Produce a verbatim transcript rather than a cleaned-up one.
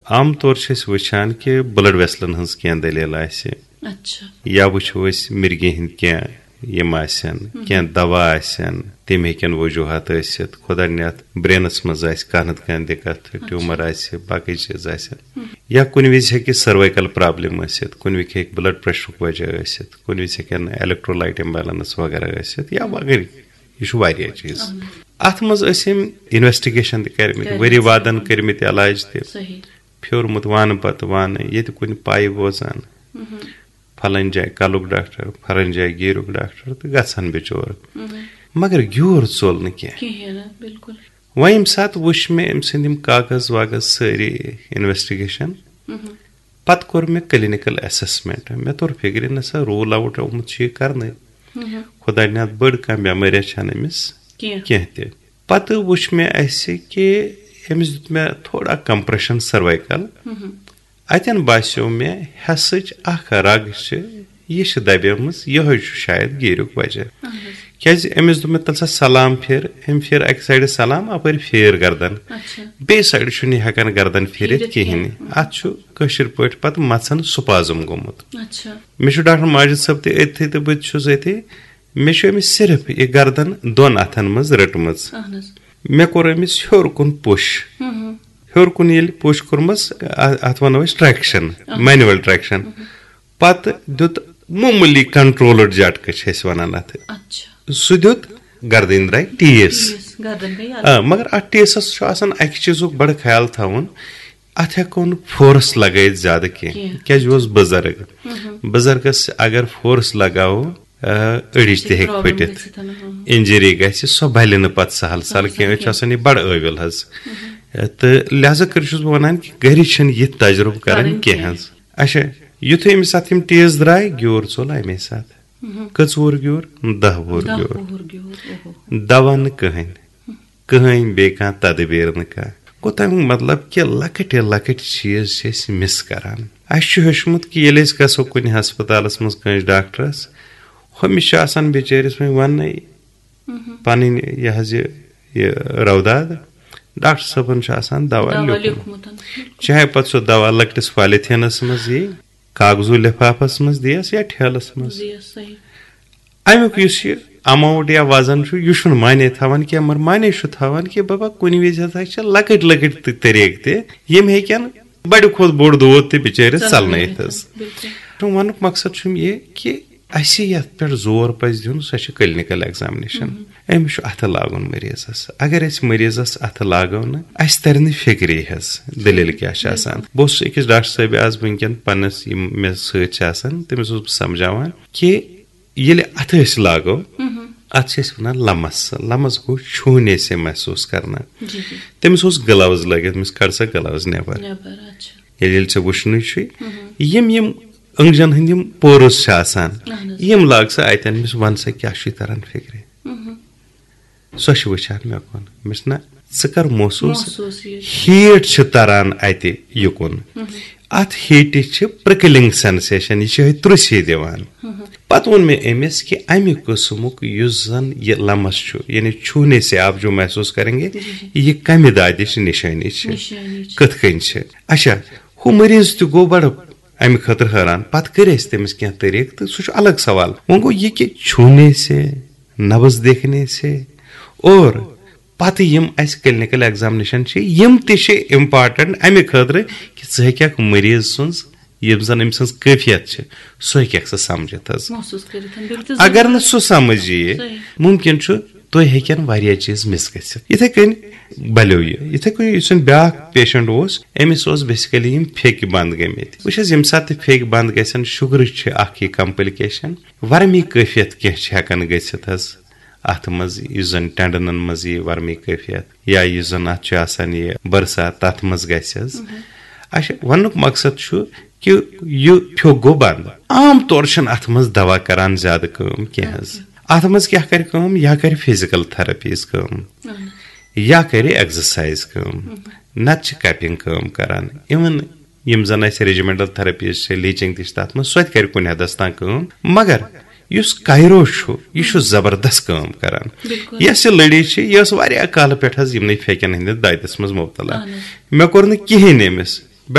عام طور چھِ أسۍ وٕچھان کہِ بلڈ ویسلن ہٕنٛز کینٛہہ دٔلیٖل آسہِ، اچھا۔ یا وٕچھو أسۍ مِرگہِ ہٕنٛدۍ کینٛہہ یِم آسن، کینٛہہ دوا آسن، تِم ہیٚکن وجوہات ٲسِتھ۔ خۄدا نِیَتھ برینس منٛز آسہِ کانٛہہ نتہٕ کانٛہہ دِقت، ٹیوٗمر آسہِ، باقٕے چیٖز آسن، یا کُنہِ وِزِ ہیٚکہِ سروائیکل پرابلم ٲسِتھ، کُنہِ وِزِ ہیٚکہِ بلڈ پریشرُک وجہ ٲسِتھ، کُنہِ وِزِ ہیٚکن electrolyte imbalance وغیرہ ٲسِتھ، یا وغیرہ۔ یہِ چھُ واریاہ چیٖز۔ اتھ منٛز ٲسۍ أمۍ انویسٹیگیشن تہِ کٔرمٕتۍ، ؤری وادن کٔرمٕتۍ علاج تہِ۔ صحیح۔ پھیورمُت وانہٕ پتہٕ وانہٕ، ییٚتہِ کُنہِ پایہِ بوزان، پھلٲنۍ جایہِ کلُک ڈاکٹر، پھلٲنۍ جایہِ گیٖرُک ڈاکٹر، تہٕ گژھان بِچور۔ مگر گیوٗر ژوٚل نہٕ کینٛہہ۔ کِہیٖنۍ نہٕ، بِلکُل۔ وۄنۍ ییٚمہِ ساتہٕ وٕچھ مےٚ أمۍ سٕنٛدۍ یِم کاغذ واغذ سٲری، انویسٹیگیشن، پتہٕ کوٚر مےٚ کلینیکل اسسمنٹ۔ مےٚ توٚر فکرِ، نہ سا، روٗل آوُٹ آمُت چھُ یہِ کرنہٕ۔ خۄدا نِیَتھ بٔڑ کانٛہہ بٮ۪مٲرۍ چھَنہٕ أمِس کینٛہہ۔ کینٛہہ تہِ۔ پتہٕ وٕچھ مےٚ اَسہِ کہِ أمِس دیُت مےٚ تھوڑا کمپریشن سروائیکل۔ اتٮ۪ن باسیو مےٚ حصٕچ اکھ رگ چھِ، یہِ چھِ دبیمٕژ، یِہوٚے چھُ شاید گیٖریُک وجہ۔ کیازِ أمِس دوٚپ مےٚ، "تَلہٕ سا سلام پھِر"، أمۍ پھِر اکہِ سایڈٕ سلام، اپٲرۍ پھیر گردن، اچھا۔ بیٚیہِ سایڈٕ چھُنہٕ یہِ ہٮ۪کان گردن پھِرِتھ پھیٖرِتھ کِہیٖنۍ۔ کینٛہہ۔ اتھ چھُ کٲشِر پٲٹھۍ پتہٕ مژھن سپازم گوٚمُت۔ اچھا۔ مےٚ چھُ ڈاکٹر ماجد صٲب تہِ أتھی تہٕ بہٕ تہِ چھُس أتھی۔ مےٚ چھُ أمِس صرف یہِ گردن دۄن اتھن منٛز رٔٹمٕژ۔ اہن حظ۔ مےٚ کوٚر أمِس ہیوٚر کُن پُش۔ ہیوٚر کُن ییٚلہِ پُش کوٚرمَس، ا-، اتھ ونو أسۍ ٹریکشن، مینوئل ٹریکشن۔ پتہٕ دیُت معموٗلی کنٹرولڈ جٹکہٕ چھِ أسۍ ونان اتھ۔ اچھا۔ سُہ دیُت، گردٕنۍ درٛاے ٹیس۔ ٹیس، گردن گٔے یَلہٕ۔ آ، مگر اتھ ٹیسس چھُ آسان اکہِ چیٖزُک بڑٕ خیال تھاوُن، اتھ ہٮ۪کو نہٕ فورس لگٲیِتھ زیادٕ کینٛہہ، کینٛہہ۔ کیازِ یہِ اوس بُزرگ۔ بُزرگس اگر فورس لگاوو، آ، أڑِچ تہِ ہیٚکہِ پرابلم پھٔٹِتھ، گٔژھِتھ، ہاں۔ انجری گژھِ، سۄ بلہِ نہٕ پتہٕ سہل سہل سہل کینٛہہ۔ أسۍ چھِ کینٛہہ۔ آسان یہِ بڑٕ ٲویُل حظ۔ تہٕ لہذا کٔرِتھ چھُس بہٕ ونان کہِ گرِ چھِنہٕ یہِ تجربہٕ کران کرٕنۍ کینٛہہ کینٛہہ۔ حظ۔ اچھا، یُتھُے أمِس اتھ یِم ٹیس درٛاے، گیوٗر ژوٚل امے ساتہٕ۔ کٔژ وُہُر گیوٗر؟ دَہ وُہُر دَہ گیوٗر۔ وُہُر گیوٗر، اوہو۔ دوا نہٕ کٕہٕنۍ، کٕہٕنۍ بیٚیہِ کانٛہہ تدبیر نہٕ کانٛہہ۔ گوٚو تَمیُک مطلب کہِ لۄکٕٹۍ لۄکٕٹۍ چیٖز چھِ أسۍ مِس کران۔ اَسہِ چھُ ہیوٚچھمُت کہِ ییٚلہِ أسۍ گژھو کُنہِ ہسپتالس منٛز کٲنٛسہِ ڈاکٹرس، ہُمِس چھُ آسان بِچٲرِس وۄنۍ وَننَے پَنٕنۍ یہِ حظ یہِ، یہِ روداد، ڈاکٹر صٲبن چھُ آسان دوا دوا لیوٗکھمُت۔ لیوٗکھمُت۔ چاہے پتہٕ سُہ دوا لۄکٹِس پالیتھینس منٛز یی، کاغذو لفافس منٛز دِیس یا ٹھیلس منٛز۔ زِ یہِ صحیح۔ امیُک یُس یہِ اماؤنٹ یا وزن چھُ، یہِ چھُنہٕ معنی تھاوان کینٛہہ، مگر معنی چھُ تھاوان کہِ بابا، کُنہِ وِزِ ہسا چھِ لۄکٕٹۍ لۄکٕٹۍ تہِ طریٖقہٕ تہِ، یِم ہیٚکن بڑِ کھۄتہٕ بوٚڑ دود تہِ بِچٲرِس ژلنٲیِتھ حظ۔ بِلکُل۔ تہٕ ونُک مقصد چھُم یہِ کہِ اسہِ یتھ پٮ۪ٹھ زور پزِ دیُن، سۄ چھِ کلینیکل ایگزامنیشن۔ أمِس چھُ اتھٕ لاگُن مریضس۔ اگر أسۍ مریضس اتھٕ لاگو نہٕ، اسہِ ترِ نہٕ فکرے حظ دٔلیٖل کیٛاہ چھِ آسان۔ بہٕ اوسُس أکِس ڈاکٹر صٲبہِ آز وٕنکیٚن پننِس، یِم مےٚ سۭتۍ چھِ آسان، تٔمِس اوسُس بہٕ سمجھاوان کہِ ییٚلہِ اَتھٕ أسۍ لاگو، اَتھ چھِ أسۍ وَنان لَمَس۔ لَمَس گوٚو چھونے سے محسوس کرنا۔ جی، جی۔ تٔمِس اوس گلوز لٲگِتھ، مےٚ ووٚنُس، "کڑ سا گلوز نٮ۪بر۔" نٮ۪بر، اچھا۔ ییٚلہِ، ییٚلہِ ژےٚ وٕچھنُے چھُے، یِم، یِم أنٛگجن ہٕنٛدۍ یِم پورٕز چھِ آسان، اہن حظ۔ یِم لاگ سا اَتٮ۪ن، مےٚ ووٚنُس، "وَن سا کیٛاہ چھُے تران فِکرِ؟" سۄ چھِ وٕچھان مےٚ کُن۔ مےٚ چھُنہ ژٕ کر محسوٗس؟ محسوٗس یہِ۔ ہیٖٹ چھِ تران اَتہِ یُکُن۔ اَتھ ہیٖٹہِ چھِ پرٛکلِنٛگ سینسیشن، یہِ چھِ یِہوٚے ترُژھے دِوان۔ پتہٕ ووٚن مےٚ أمِس کہِ اَمہِ قٕسمُک یُس زن یہِ لمس چھُ، یعنی چھونے سے آپ جو محسوس کریں گے، یہِ کمہِ دادِچ نشٲنی چھِ؟ نشٲنی چھِ۔ کِتھ کٔنۍ چھِ؟ اچھا، ہُہ مریض تہِ گوٚو بڑٕ اَمہِ خٲطرٕ حٲران۔ پتہٕ کٔرۍ اَسہِ تٔمِس کینٛہہ طریٖقہٕ، تہٕ سُہ چھُ الگ سوال۔ وۄنۍ گوٚو یہِ کہِ چھونے سے، نبض دیکھنے سے، اور پتہٕ یِم اَسہِ کلینیکل ایگزامنیشن چھِ، یِم تہِ چھِ امپارٹنٹ اَمہِ خٲطرٕ کہِ ژٕ ہیٚککھ مریض سٕنٛز، یِم زن أمۍ سٕنٛز کیفیت چھِ، سُہ ہیٚککھ ژٕ سمجھِتھ حظ۔ محسوٗس کٔرِتھ، بِلکُل۔ اگر نہٕ سُہ سمجھ یِیہِ، صحیح۔ ممکن چھُ تُہۍ ہیٚکن واریاہ چیٖز مِس گٔژھِتھ۔ یِتھے کٔنۍ بلیو یہِ، یِتھے کٔنۍ یُس زن بیٛاکھ پیشنٹ اوس، أمِس اوس بیسیکلی یِم پھیٚکۍ بنٛد گٔمٕتۍ۔ وٕچھ حظ، ییٚمہِ ساتہٕ تہِ پھیٚکۍ بنٛد گژھن، شُگرٕچ چھِ اکھ یہِ کمپلکیشن، ورمی کٲفیت کینٛہہ چھِ ہٮ۪کان گٔژھِتھ حظ۔ اتھ منٛز یُس زن ٹینڈنن منٛز یہِ ورمی کٲفیت یا یُس زن اتھ چھُ آسان یہِ بٔرسا، تتھ منٛز گژھِ حظ۔ اچھا، وننُک مقصد چھُ کہِ یہِ پھیوٚک گوٚو بنٛد۔ عام طور چھِنہٕ اتھ منٛز دوا کران زیادٕ کٲم کینٛہہ حظ۔ اتھ منٛز کیٛاہ کرِ کٲم؟ یا کرِ فزیکل تھراپیز کٲم، یا کرِ ایگزرسایز کٲم، نتہٕ چھِ کپنگ کٲم کران۔ Even یِم زن اَسہِ ریجیمنٹل تھراپیز چھِ، لیچنگ تہِ چھِ تَتھ منٛز، سۄ تہِ کَرِ کُنہِ حدس تام کٲم۔ مگر یُس کایرو چھُ، یہِ چھُ زبردست کٲم کران۔ بِلکُل۔ یۄس یہِ لڑی چھِ، یہِ ٲس واریاہ کالہٕ پٮ۪ٹھ حظ یِمنٕے پھیٚکٮ۪ن ہٕنٛدِس دٲدِس منٛز مُبتلا۔ اہن حظ۔ مےٚ کوٚر نہٕ کِہیٖنۍ أمِس،